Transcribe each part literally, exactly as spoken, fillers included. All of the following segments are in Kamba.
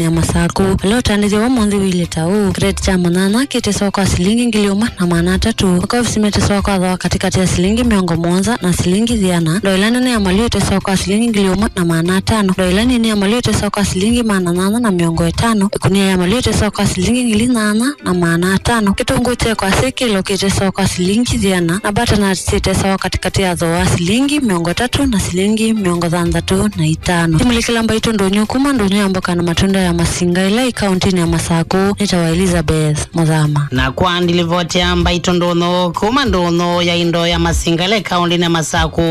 ya Masakũ. Vala ũtandĩthyo wa ũmũnthĩ ũilyĩ ta ũũ: kĩreti kya mũnyanya kĩtesawa kwa silingi ngili ĩmwe na maana atatũ. Makovisi metesawa kwa thooa katĩkatĩ ya silingi mĩongo mũonza na silingi ĩana. Ndoo ĩla nene ya malĩu ĩtesawa kwa silingi ngili ĩmwe na maana atano. Ndoo ĩla nini ya malĩu ĩtesawa kwa silingi maana nyanya na mĩongo ĩtano. Ĩkunia ya malĩu ĩtesawa kwa silingi ngili nyanya na maana atano. Kĩtũngũũ kya ĩkwasĩ kĩlo kĩtesawa kwa silingi ĩana, na butternut syĩtesawa katĩkatĩ ya thooa wa silingi mĩongo ĩtatũ na silingi mĩongo thanthatũ na itano. Imũlĩkĩla mbaitũ ndũnyũ kuma ndũnyũ ya mboka na matunda ya Masinga ĩla ĩ kaũntĩnĩ ya Masakũ. Nĩtawa Elizabeth Mũthama. Na kwa ndilivoti ya mbaitũ ndũnyũ kuma ndũnyũ ya indo ya Masinga ĩla ĩ kaũntĩnĩ ya Masakũ,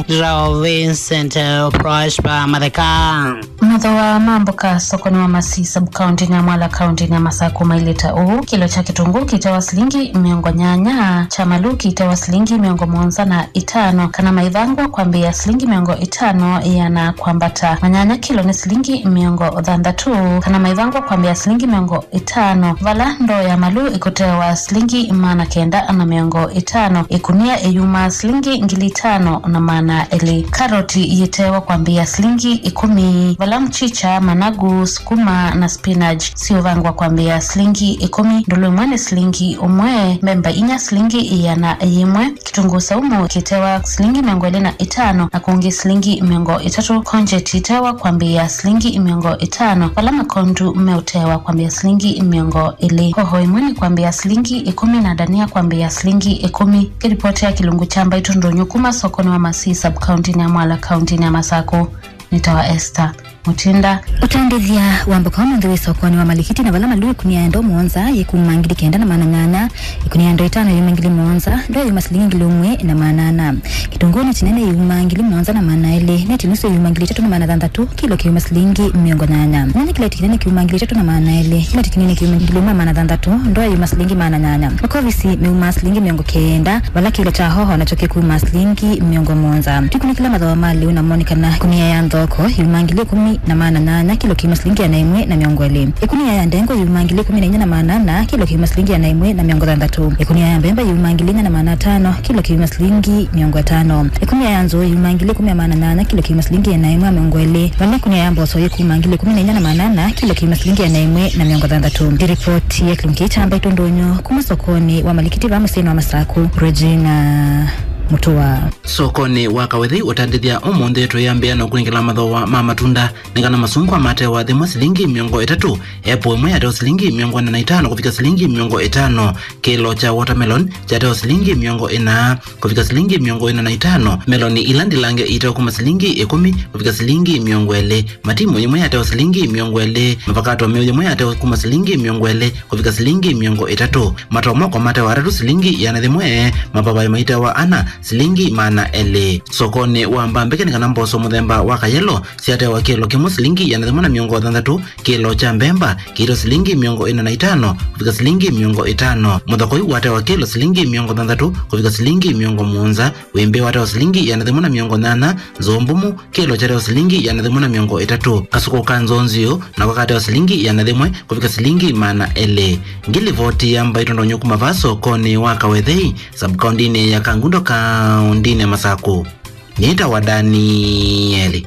ndĩtawa Vincent, eh, Prosper Matheka. Mathooa ma mboka sokonĩ wa Masii sub-county-nĩ ya Mwala, kaũntĩnĩ ya Masakũ, mailye ta ũũ: kĩlo kya kĩtũngũũ kĩtawa silingi mĩongo nyanya, kya malĩu kĩtawa silingi mĩongo mũonza na itano, kana maivangwa kwambĩĩa silingi mĩongo ĩtano ĩana kwambata. Manyanya kĩlo nĩ silingi mĩongo thanthatũ, kana maivangwa kwambĩĩa silingi mĩongo ĩtano, vala ndoo ya malĩu ĩkũtewa silingi maana kenda na mĩongo ĩtano, ĩkunia ĩyumaa silingi ngili itano na maana elĩ. Karoti yĩtewa kwambĩĩa silingi ĩkũmi, vala mchicha, managu, sukuma na spinach siũvangwa kwambĩĩa silingi ĩkũmi. Ndũlũ ĩmwe nĩ silingi ũmwe, mbemba inya silingi ĩana yĩmwe. Kĩtũngũũ saumu kĩtewa silingi mĩongo ĩlĩ na ĩtano, na kũngĩ silingi mĩongo ĩtatũ. Konjeti ĩtewa kwambĩĩa silingi mĩongo ĩtano, vala makondu meũtewa kwambĩĩa silingi mĩongo ĩlĩ. Hoho ĩmwe nĩ kwambĩĩa silingi ĩkũmi, na ndania kwambĩĩa silingi ĩkũmi. Kĩlipoti ya kĩlungu kya mbaitũ ndũnyũ kuma sokonĩ wa Masii sub-county-nĩ ya Mwala, kaũntĩnĩ ya Masakũ. Nĩtawa Esther Mũtinda. Ũtandĩthya wa mboka ũmũnthĩ wĩ sokonĩ wa Malikiti, na vala malĩu ĩkunia ya ndoo mũonza yĩkuma ngili kenda na maana nyanya, ĩkunia ya ndoo ĩtano yuma ngili mũonza, ndoo yuma silingi ngili ũmwe na maana ana. Kĩtũngũũ nĩ kĩnene yuma ngili mũonza na maana elĩ, neti nusu yuma ngili itatũ na maana thanthatũ, kĩlo kĩuma silingi mĩongo nyanya. Nyanya kĩleti kĩnene kĩuma ngili itatũ na maana elĩ, kĩleti kĩnini kĩuma ngili ũmwe na maana thanthatũ, ndoo yuma silingi maana nyanya. Makovisi meuma silingi mĩongo kenda, vala kĩlo kya hoho nakyo kĩkuma silingi mĩongo mũonza. Tũkunĩkĩla mathooa ma lĩu namo nĩ kana ĩkunia ya nthoko yuma ngili ĩkũmi na maana nyanya, kĩlo kĩuma silingi ĩana ĩmwe na mĩongo ĩlĩ. Ĩkunia ya ndengũ yuma ngili ĩkũmi na inya na maana ana, kĩlo kĩuma silingi ĩana ĩmwe na mĩongo thanthatũ. Ĩkunia ya mbemba yuma ngili inya na maana atano, kĩlo kĩuma silingi mĩongo ĩtano. Ĩkunia ya nzũũ yuma ngili ĩkũmi na maana nyanya, kĩlo kĩuma silingi ĩana ĩmwe na mĩongo ĩlĩ. Vala ĩkunia ya mboso yĩkuma ngili ĩkũmi na inya na maana ana, kĩlo kĩuma silingi ĩana ĩmwe na mĩongo thanthatũ. Nĩ ripoti ya kĩlungu kĩĩ kya mbaitũ ndũnyũ kuma sokonĩ wa Malikiti vaa mũsyĩnĩ wa Masakũ, Regina Mutua. Sokonĩ wa Kawethei ũtandĩthya ũmũnthĩ, tũyambĩĩa na kũnengela mathooa ma matunda. Nĩ kana masungwa matewa thĩmwe silingi mĩongo ĩtatũ, apple ĩmwe yatewa silingi mĩongo ĩna na itano kũvika silingi mĩongo ĩtano, kĩlo kya watermelon kyatewa silingi mĩongo ĩna kũvika silingi mĩongo ĩna na itano, meloni ila ndilange itewa kuma silingi ĩkũmi kũvika silingi mĩongo ĩlĩ, matimu yĩmwe yatewa silingi mĩongo ĩlĩ, mavakato meũ yĩmwe yatewa kuma silingi mĩongo ĩlĩ kũvika silingi mĩongo ĩtatũ, matomoko matewa atatũ silingi ĩana yĩmwe, mapavai maitewa ana silingi maana elĩ. Sokonĩ wa Mbambeke nĩ kana mboso mũthemba wa kayelo syatewa kĩlo kĩmwe silingi ĩana yĩmwe na mĩongo thanthatũ, kĩlo kya mbemba kĩitwa silingi mĩongo ĩna na itano kũvika silingi mĩongo ĩtano, mũthokoi watewa kĩlo silingi mĩongo thanthatũ kũvika silingi mĩongo mũonza, wĩmbĩ watewa silingi ĩana yĩmwe na mĩongo nyanya, nzũũ mbumu kĩlo kyatewa silingi ĩana yĩmwe na mĩongo ĩtatũ, kasũkũ ka nzũũ nziũ nako katewa silingi ĩana yĩmwe kũvika silingi maana elĩ. Ngilivoti ya mbaitũ ndũnyũ kuma vaa sokonĩ wa Kawethei, sub-kaũntĩnĩ ya Kangundo, kaũntĩnĩ ya Masakũ. Nĩtawa Danieli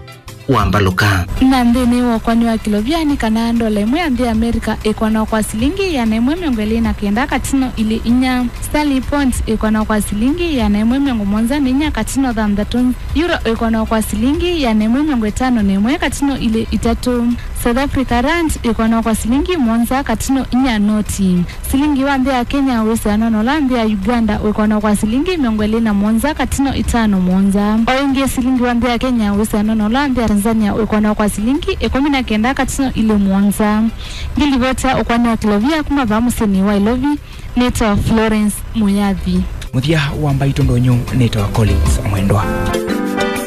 Wambaluka. Na nthĩnĩ wa ũkwani wa kĩlovia nĩ kana ndola ĩmwe ya nthĩ ya Amerika ĩkwanwa kwa silingi ĩana ĩmwe mĩongo ĩlĩ na kenda katino ilĩ inya. Sterling pound ĩkwanwa kwa silingi ĩana ĩmwe mĩongo mũonza na inya katino thanthatũ. Euro ĩkwanwa kwa silingi ĩana ĩmwe mĩongo ĩtano na ĩmwe katino ilĩ itatũ. South Africa rand ĩkwanwa kwa silingi mũonza katino inya noti. Silingi wa nthĩ ya Kenya wĩsĩanwa na ũla nthĩ ya Uganda wĩkwanwa kwa silingi mĩongo ĩlĩ na mũonza katino ĩtano mũonza. O ĩngĩ, silingi wa nthĩ ya Kenya wĩsĩanwa na ũla nthĩ ya Tanzania wĩkwanwa kwa silingi ĩkũmi na kenda katino ilĩ mũonza. Ngilivoti ya ũkwani wa kĩlovia kuma vaa mũsyĩnĩ wa Ilovi, nĩtawa Florence Muyathi. Mũthya wa mbaitũ ndũnyũ nĩtawa Collins Mwendwa.